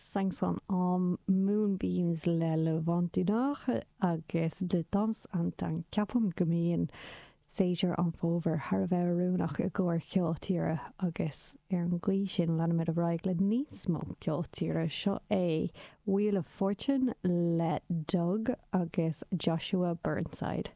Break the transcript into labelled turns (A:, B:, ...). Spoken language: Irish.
A: 500 Âmes, Moonbeams le Le Vent du Nord agus De Temps en Temps. Ceapaim go mbíonn séasúr an fhómhair thar a bheith oiriúnach i gcomhair ceol tíre agus ar an gcaoi sin leanaimid ar aghaidh le níos mó ceol tíre. Seo é Wheel of Fortune le Doug agus Joshua Burnside.